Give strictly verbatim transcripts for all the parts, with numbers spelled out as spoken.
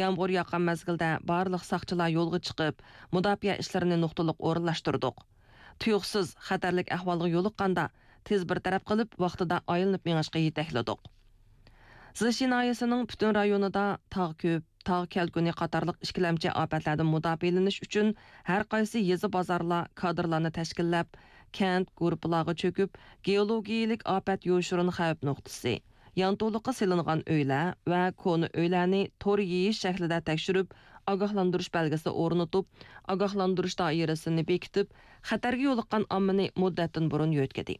يامغۇر ياغقان مەزگىلدە بارلىق ساقچىلار يولغا چىقىپ، مۇداپىئە ئىشلىرىنى نۇقتىلىق ئورۇنلاشتۇردۇق. تۇيۇقسىز خەتەرلىك ئەھۋالغا يولۇققاندا، تېز بىر تەرەپ قىلىپ، ۋاقتىدا ئايلىنىپ مېڭىشقا يېتەكلىدۇق. زىشى ناھىيەسىنىڭ پۈتۈن رايونىدا تاغ كۆپ، تاغ كەلكۈنى قاتارلىق ئىككىلەمچى ئاپەتلەردىن مۇداپىئەلىنىش ئۈچۈن ھەر قايسى يېزا، بازارلار كادىرلارنى تەشكىللەپ، كەنت گۇرۇپپىلارغا چۆكۈپ، گېئولوگىيەلىك ئاپەت يوشۇرۇن خەۋپ نۇقتىسى، يانتۇلۇققا سېلىنغان ئۆيلەر ۋە كونا ئۆيلەرنى تور يېيىش شەكلىدە تەكشۈرۈپ، ئاگاھلاندۇرۇش بەلگىسى ئورنىتىپ، ئاگاھلاندۇرۇش دائىرىسىنى بېكىتىپ، خەتەرگە يولۇققان ئاممىنى مۇددەتتىن بۇرۇن يۆتكىدى.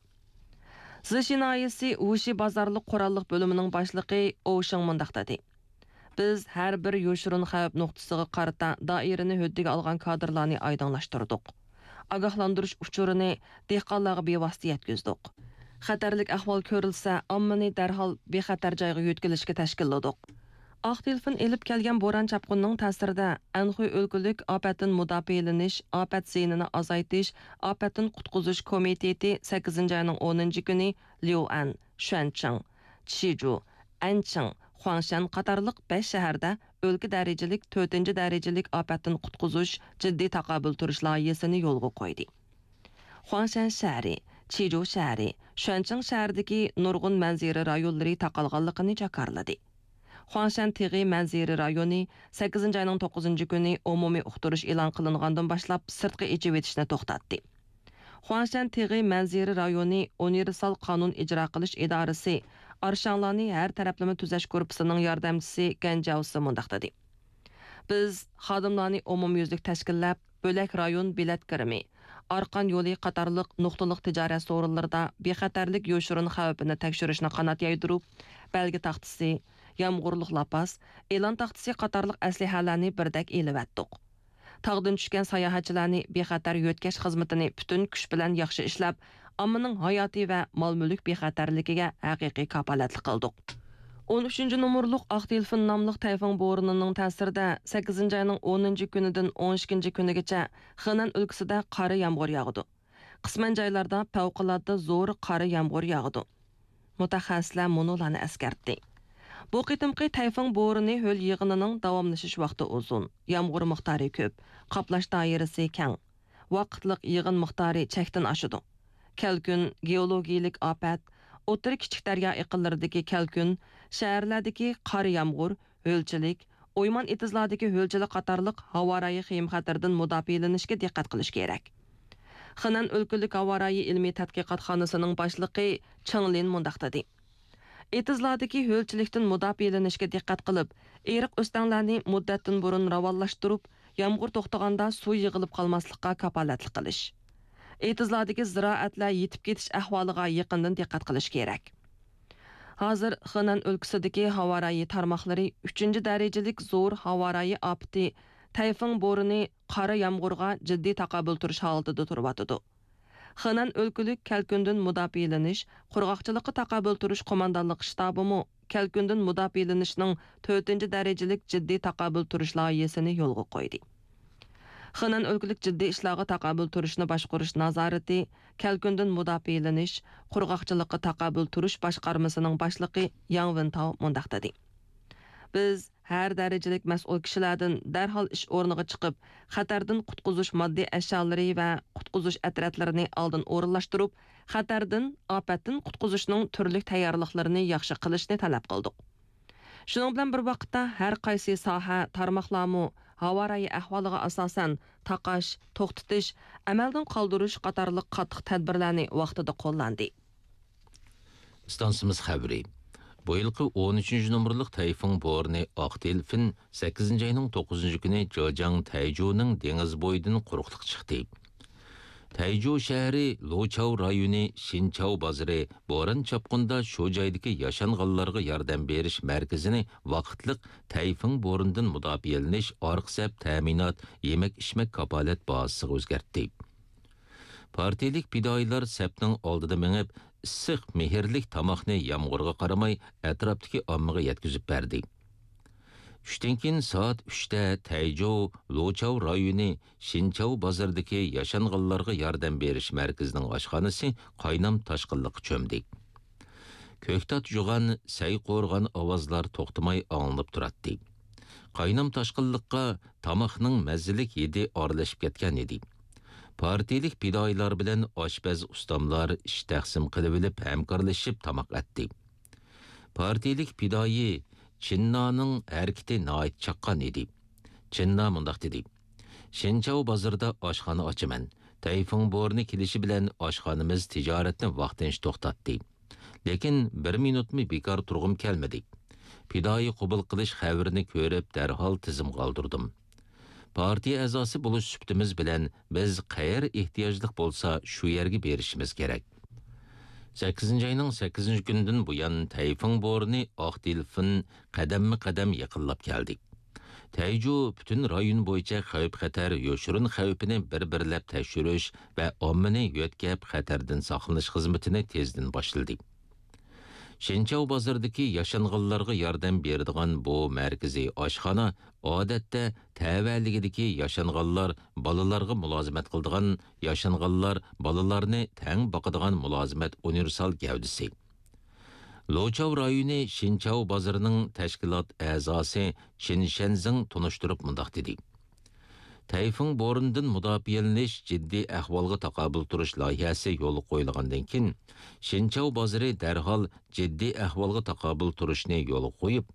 زىشى ناھىيەسى ۋۇشى بازارلىق قوراللىق بۆلۈمىنىڭ باشلىقى ئوۋ شېڭ مۇنداق دېدى: بىز ھەر بىر يوشۇرۇن خەۋپ نۇقتىسىغا قارىتا دائىرىنى ھۆددىگە ئالغان كادىرلارنى ئايدىڭلاشتۇردۇق. ئاگاھلاندۇرۇش ئۇچۇرىنى دېھقانلارغا بىۋاسىتە يەتكۈزدۇق. خەتەرلىك ئەھۋال كۆرۈلسە، ئاممىنى دەرھال بىخەتەر جايغا يۆتكىلىشكە تەشكىللىدۇق. ئاق تېلېفون ئېلىپ كەلگەن بوران-چاپقۇننىڭ تەسىرىدە، ئەنخۇي ئۆلكىلىك ئاپەتتىن مۇداپىئەلىنىش، ئاپەت زىيىنىنى ئازايتىش، ئاپەتتىن قۇتقۇزۇش كومىتېتى سەككىزىنچى ئاينىڭ ئونىنچى كۈنى ليۇئەن، شۈەنچىڭ، چىجۇ، ئەنچىڭ، خۇاڭشەن قاتارلىق بەش شەھەردە ئۆلكە دەرىجىلىك تۆتىنچى دەرىجىلىك ئاپەتتىن قۇتقۇزۇش جىددىي تاقابىل تۇرۇش لايىھەسىنى يولغا قويدى. خۇاڭشەن شەھىرى، چىجۇ شەھىرى، شۈەنچىڭ شەھىرىدىكى نۇرغۇن مەنزىرە رايونلىرى تاقالغانلىقىنى جاكارلىدى. خۇاڭشەن تېغى مەنزىرە رايونى سەككىزىنچى ئاينىڭ توققۇزىنچى كۈنى ئومۇمىي ئۇقتۇرۇش ئېلان قىلىنغاندىن باشلاپ سىرتقا ئېچىۋېتىشنى توختاتتى. خۇاڭشەن تېغى مەنزىرە رايونى ئۇنىۋېرسال قانۇن ئىجرا قىلىش ئىدارىسى ئارشاڭلارنى ھەر تەرەپلىمە تۈزەش گۇرۇپپىسىنىڭ ياردەمچىسى گەن جياۋسى مۇنداق دېدى: بىز خادىملارنى ئومۇميۈزلۈك تەشكىللەپ، بۆلەك رايون بېلەت كىرىمى، ئارقان يولى قاتارلىق نۇقتىلىق تىجارەت سورۇنلىرىدا بىخەتەرلىك يوشۇرۇن خەۋپىنى تەكشۈرۈشنى قانات يايدۇرۇپ، بەلگە تاختىسى، يامغۇرلۇق لاپاس، ئېلان تاختىسى قاتارلىق ئەسلىھەلەرنى بىردەك ئېلىۋەتتۇق. تاغدىن چۈشكەن ساياھەتچىلەرنى بىخەتەر يۆتكەش خىزمىتىنى پۈتۈن كۈچ بىلەن ياخشى ئىشلەپ، ئاممىنىڭ ھاياتى ۋە مال-مۈلۈك بىخەتەرلىكىگە ھەقىقىي كاپالەتلىك قىلدۇق. ئون ئۈچىنچى نومۇرلۇق ئاق تېلېفون ناملىق تەيفۇڭ بورىنىنىڭ تەسىرىدە سەككىزىنچى ئاينىڭ ئونىنچى كۈنىدىن ئون ئىككىنچى كۈنىگىچە خېنەن ئۆلكىسىدە قارا يامغۇر ياغىدۇ. قىسمەن جايلاردا پەۋقۇلئاددە زور قارا يامغۇر ياغىدۇ. مۇتەخەسسىسلەر مۇنۇلارنى ئەسكەرتتى: بۇ قېتىمقى تەيفۇڭ بورىنى ھۆل يېغىنىنىڭ داۋاملىشىش ۋاقتى ئۇزۇن، يامغۇر مىقدارى كۆپ، قاپلاش دائىرىسى كەڭ، ۋاقىتلىق يېغىن مىقدارى چەكتىن ئاشىدۇ. كەلكۈن، گېئولوگىيەلىك ئاپەت، ئوتتۇرا كىچىك دەريا ئېقىنلىرىدىكى كەلكۈن، شەھەرلەردىكى قارا يامغۇر، ھۆلچىلىك، ئويمان ئېتىزلاردىكى ھۆلچىلىك قاتارلىق ھاۋارايى خېيىم-خەتىرىدىن مۇداپىئەلىنىشكە دىققەت قىلىش كېرەك. خېنەن ئۆلكىلىك ھاۋارايى ئىلمىي تەتقىقاتخانىسىنىڭ باشلىقى چېڭ لىن مۇنداق دېدى: ئېتىزلاردىكى ھۆلچىلىكتىن مۇداپىئەلىنىشكە دىققەت قىلىپ، ئېرىق ئۆستەڭلەرنى مۇددەتتىن بۇرۇن راۋانلاشتۇرۇپ، يامغۇر توختىغاندا سۇ يىغىلىپ قالماسلىققا كاپالەتلىك قىلىش. ئېتىزلاردىكى زىرائەتلەر يېتىپ كېتىش ئەھۋالىغا يېقىندىن دىققەت قىلىش كېرەك. ھازىر خېنەن ئۆلكىسىدىكى ھاۋارايى تارماقلىرى ئۈچىنچى دەرىجىلىك زور ھاۋارايى ئاپىتى، تەيفېڭ بورىنى، قارا يامغۇرغا جىددىي تاقابىل تۇرۇش ھالىتىدە تۇرۇۋاتىدۇ. خېنەن ئۆلكىلىك كەلكۈندىن مۇداپىئەلىنىش، قۇرغاقچىلىققا تاقابىل تۇرۇش قوماندانلىق شتابىمۇ كەلكۈندىن مۇداپىئەلىنىشنىڭ تۆتىنچى دەرىجىلىك جىددىي تاقابىل تۇرۇش لايىھەسىنى يولغا قويدى. خېنەن ئۆلكىلىك جىددىي ئىشلارغا تاقابىل تۇرۇشنى باشقۇرۇش نازارىتى كەلكۈندىن مۇداپىئەلىنىش، قۇرغاقچىلىققا تاقابىل تۇرۇش باشقارمىسىنىڭ باشلىقى ياڭ ۋېنتاۋ مۇنداق دېدى: بىز ھەر دەرىجىلىك مەسئۇل كىشىلەردىن دەرھال ئىش ئورنىغا چىقىپ، خەتەردىن قۇتقۇزۇش ماددىي ئەشيالىرى ۋە قۇتقۇزۇش ئەترەتلىرىنى ئالدىن ئورۇنلاشتۇرۇپ، خەتەردىن، ئاپەتتىن قۇتقۇزۇشنىڭ تۈرلۈك تەييارلىقلىرىنى ياخشى قىلىشنى تەلەپ قىلدۇق. شۇنىڭ بىلەن بىر ۋاقىتتا، ھەر قايسى ساھە، تارماقلارمۇ ھاۋارايى ئەھۋالىغا ئاساسەن تاقاش، توختىتىش، ئەمەلدىن قالدۇرۇش قاتارلىق قاتتىق تەدبىرلەرنى ۋاقتىدا قوللاندى. ئىستانسىمىز خەۋىرى. بۇ يىلقى ئون ئۈچىنچى نومۇرلۇق تەيفېڭ بورىنى ئاق دېلفىن سەككىزىنچى ئاينىڭ توققۇزىنچى كۈنى جېجياڭ تەيجۇنىڭ دېڭىز بويىدىن قۇرۇقلۇققا چىقتى. تەيجۇ شەھىرى لۇچاۋ رايونى شىنچاۋ بازىرى بوران-چاپقۇندا شۇ جايدىكى ياشانغانلارغا ياردەم بېرىش مەركىزىنى ۋاقىتلىق تەيفېڭ بورىنىدىن مۇداپىئەلىنىش ئارقا سەپ تەمىنات، يېمەك-ئىچمەك كاپالەت بازىسىغا ئۆزگەرتتى. پارتىيىلىك پىدائىيلار سەپنىڭ ئالدىدا مېڭىپ، ئىسسىق، مېھىرلىك تاماقنى يامغۇرغا قارىماي ئەتراپتىكى ئاممىغا يەتكۈزۈپ بەردى. چۈشتىن كېيىن سائەت ئۈچتە تەيجۇ لۇچاۋ رايونى شىنچاۋ بازىرىدىكى ياشانغانلارغا ياردەم بېرىش مەركىزىنىڭ ئاشخانىسى قاينام تاشقىنلىققا چۆمدى. كۆكتات جۇغان، سەي قورغان ئاۋازلار توختىماي ئاڭلىنىپ تۇراتتى. قاينام-تاشقىنلىققا تاماقنىڭ مەززىلىك ھىدى ئارىلىشىپ كەتكەن ئىدى. پارتىيىلىك پىدائىيلار بىلەن ئاشپەز ئۇستاملار ئىش تەقسىم قىلىۋېلىپ ھەمكارلىشىپ تاماق ئەتتى. پارتىيىلىك پىدائىي چىننانىڭ ھەرىكىتى ناھايىتى چاققان ئىدى. چىننا مۇنداق دېدى: «شىنچاۋ بازىرىدا ئاشخانا ئاچىمەن. تەيفۇڭ بورىنى كېلىشى بىلەن ئاشخانىمىز تىجارەتنى ۋاقتىنچە توختاتتى. لېكىن بىر مىنۇتمۇ بىكار تۇرغۇم كەلمىدى. پىدائىي قوبۇل قىلىش خەۋىرىنى كۆرۈپ، دەرھال تىزىمغا ئالدۇردۇم. پارتىيە ئەزاسى بولۇش سۈپىتىمىز بىلەن بىز قەيەر ئېھتىياجلىق بولسا، شۇ يەرگە بېرىشىمىز كېرەك.» سەككىزىنچى ئاينىڭ سەككىزىنچى كۈنىدىن بۇيان، تەيفۇڭ بورىنى ئاق دېلفىن قەدەممۇ قەدەم يېقىنلاپ كەلدى. تەيجۇ پۈتۈن رايون بويىچە خەۋپ-خەتەر يوشۇرۇن خەۋپىنى بىر-بىرلەپ تەكشۈرۈش ۋە ئاممىنى يۆتكەپ خەتەردىن ساقلىنىش خىزمىتىنى تېزدىن باشلىدى. شىنچاۋ بازىرىدىكى ياشانغانلارغا ياردەم بېرىدىغان بۇ مەركىزىي ئاشخانا، ئادەتتە، تەۋەلىكىدىكى ياشانغانلار بالىلارغا مۇلازىمەت قىلىدىغان، ياشانغانلار بالىلارنى تەڭ باقىدىغان مۇلازىمەت ئۇنىۋېرسال گەۋدىسى. لوچاۋ رايونى شىنچاۋ بازىرىنىڭ تەشكىلات ئەزاسى چىن شەنزىڭ تونۇشتۇرۇپ مۇنداق دېدى: «تەيفۇڭ بورىنىدىن مۇداپىئەلىنىش جىددىي ئەھۋالغا تاقابىل تۇرۇش لايىھەسى يولغا قويۇلغاندىن كېيىن، شىنچاۋ بازىرى دەرھال جىددىي ئەھۋالغا تاقابىل تۇرۇشنى يولغا قويۇپ،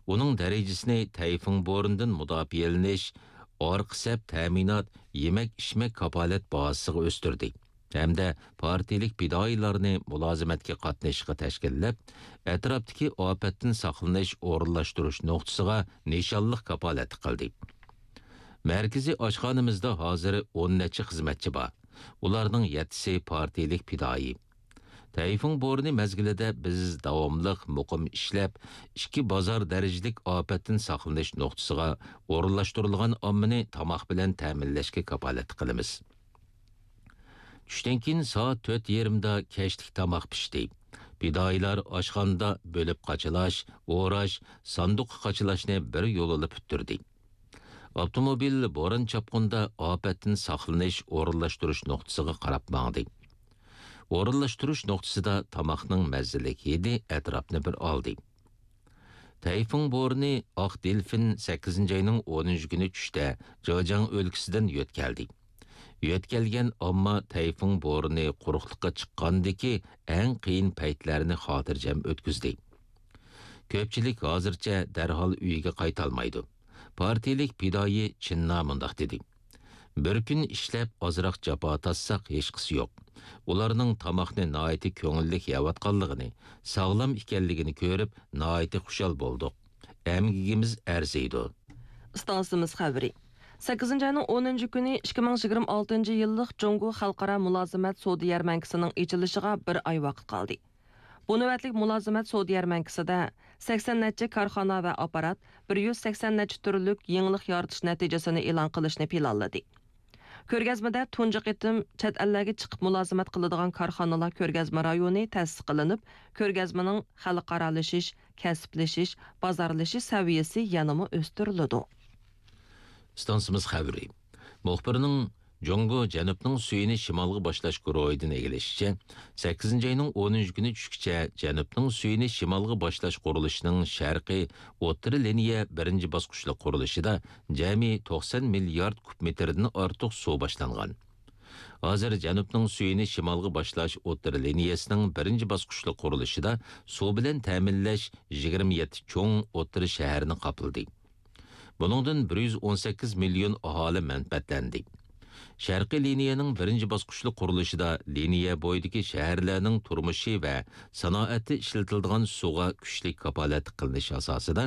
ئۇنىڭ دەرىجىسىنى تەيفۇڭ بورىنىدىن مۇداپىئەلىنىش، ئارقا سەپ تەمىنات، يېمەك-ئىچمەك كاپالەت بازىسىغا ئۆستۈردى ھەمدە پارتىيىلىك پىدائىيلارنى مۇلازىمەتكە قاتنىشىشقا تەشكىللەپ، ئەتراپتىكى ئاپەتتىن ساقلىنىش ئورۇنلاشتۇرۇش نۇقتىسىغا نىشانلىق كاپالەتلىك قىلدى.» مەركىزىي ئاشخانىمىزدا ھازىر ئون نەچچە خىزمەتچى بار. ئۇلارنىڭ يەتتىسى پارتىيىلىك پىدائىي. تەيفۇڭ بورىنى مەزگىلىدە بىز داۋاملىق مۇقىم ئىشلەپ، ئىككى بازار دەرىجىلىك ئاپەتتىن ساقلىنىش نۇقتىسىغا ئورۇنلاشتۇرۇلغان ئاممىنى تاماق بىلەن تەمىنلەشكە كاپالەتلىك قىلىمىز. چۈشتىن كېيىن سائەت تۆت يېرىمدا كەچلىك تاماق پىشتى. پىدائىيلار ئاشخانىدا بۆلۈپ قاچىلاش، ئوراش، ساندۇققا قاچىلاشنى بىر يولىلا پۈتتۈردى. ئاپتوموبىل بوران-چاپقۇندا ئاپەتتىن ساقلىنىش ئورۇنلاشتۇرۇش نۇقتىسىغا قاراپ ماڭدى. ئورۇنلاشتۇرۇش نۇقتىسىدا تاماقنىڭ مەززىلىك ھىدى ئەتراپنى بىر ئالدى. تەيفۇڭ بورىنى ئاق دېلفىن سەككىزىنچى ئاينىڭ ئونىنچى كۈنى چۈشتە جېجياڭ ئۆلكىسىدىن يۆتكەلدى. يۆتكەلگەن ئامما تەيفۇڭ بورىنى قۇرۇقلۇققا چىققاندىكى ئەڭ قىيىن پەيتلەرنى خاتىرجەم ئۆتكۈزدى. كۆپچىلىك ھازىرچە دەرھال ئۆيىگە قايتالمايدۇ. پارتىيىلىك پىدائىي چىننا مۇنداق دېدى: «بىر كۈن ئىشلەپ، ئازراق جاپا تارتساق، ھېچقىسى يوق. ئۇلارنىڭ تاماقنى ناھايىتى كۆڭۈللۈك يەۋاتقانلىقىنى، ساغلام ئىكەنلىكىنى كۆرۈپ، ناھايىتى خۇشال بولدۇق. ئەمگىكىمىز ئەرزىيدۇ.» ئىستانسىمىز خەۋىرى. سەككىزىنچى ئاينىڭ ئونىنچى كۈنى ئىككى مىڭ يىگىرمە ئالتىنچى يىللىق جۇڭگو خەلقئارا مۇلازىمەت سودا يەرمەنكىسىنىڭ ئېچىلىشىغا بىر ئاي ۋاقىت قالدى. بۇ نۆۋەتلىك مۇلازىمەت سودا يەرمەنكىسىدە سەكسەن نەچچە كارخانا ۋە ئاپپارات بىر يۈز سەكسەن نەچچە تۈرلۈك يېڭىلىق يارىتىش نەتىجىسىنى ئېلان قىلىشنى پىلانلىدى. كۆرگەزمىدە تۇنجى قېتىم چەت ئەللەرگە چىقىپ مۇلازىمەت قىلىدىغان كارخانىلار كۆرگەزمە رايونى تەسىس قىلىنىپ، كۆرگەزمىنىڭ خەلقئارالىشىش، كەسىپلىشىش، بازارلىشىش سەۋىيەسى يەنىمۇ ئۆستۈرۈلىدۇ. ئىستانسىمىز خەۋىرى. مۇخبىرنىڭ جۇڭگو جەنۇبنىڭ سۈيىنى شىمالغا باشلاش گۇرۇھىدىن ئىگىلىشىچە، سەككىزىنچى ئاينىڭ ئونىنچى كۈنى چۈشكىچە جەنۇبنىڭ سۈيىنى شىمالغا باشلاش قۇرۇلۇشىنىڭ شەرقىي ئوتتۇرا لىنىيە بىرىنچى باسقۇچلۇق قۇرۇلۇشىدا جەمئىي توقسان مىليارد كۇب مېتىردىن ئارتۇق سۇ باشلانغان. ھازىر جەنۇبنىڭ سۈيىنى شىمالغا باشلاش ئوتتۇرا لىنىيەسىنىڭ بىرىنچى باسقۇچلۇق قۇرۇلۇشىدا سۇ بىلەن تەمىنلەش يىگىرمە يەتتە چوڭ ئوتتۇرا شەھەرنى قاپلىدى. بۇنىڭدىن بىر يۈز ئون سەككىز مىليون ئاھالى مەنپەئەتلەندى. شەرقىي لىنىيەنىڭ بىرىنچى باسقۇچلۇق قۇرۇلۇشىدا لىنىيە بويىدىكى شەھەرلەرنىڭ تۇرمۇشى ۋە سانائەتتە ئىشلىتىلىدىغان سۇغا كۈچلۈك كاپالەتلىك قىلىنىش ئاساسىدا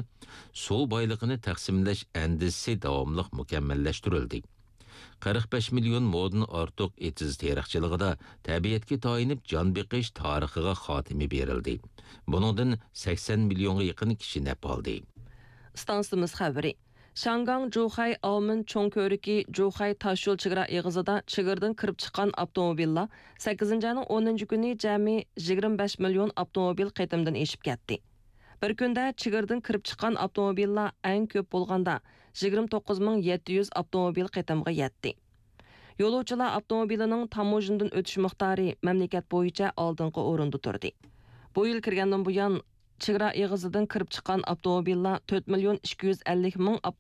سۇ بايلىقىنى تەقسىملەش ئەندىزىسى داۋاملىق مۇكەممەللەشتۈرۈلدى. قىرىق بەش مىليون مودىن ئارتۇق ئېتىز تېرىقچىلىقىدا تەبىئەتكە تايىنىپ جان بېقىش تارىخىغا خاتىمە بېرىلدى. بۇنىڭدىن سەكسەن مىليونغا يېقىن كىشى نەپ ئالدى. ئىستانسىمىز خەۋىرى. شياڭگاڭ جۇخەي ئاۋمېن چوڭ كۆۋرۈكى جۇخەي تاشيول چېگرا ئېغىزىدا چېگرىدىن كىرىپ چىققان ئاپتوموبىللار سەككىزىنچى ئاينىڭ ئونىنچى كۈنى جەمئىي يىگىرمە بەش مىليون ئاپتوموبىل قېتىمدىن ئېشىپ كەتتى. بىر كۈندە چېگرىدىن كىرىپ چىققان ئاپتوموبىللار ئەڭ كۆپ بولغاندا يىگىرمە توققۇز مىڭ يەتتە يۈز ئاپتوموبىل قېتىمغا يەتتى. يولۇچىلار ئاپتوموبىلىنىڭ تاموژنىدىن ئۆتۈش مىقدارى مەملىكەت بويىچە ئالدىنقى ئورۇندا تۇردى. بۇ يىل كىرگەندىن بۇيان، چېگرا ئېغىزىدىن كىرىپ چىققان ئاپتوموبىللار تۆت مىليون ئىككى يۈز ئەللىك مىڭ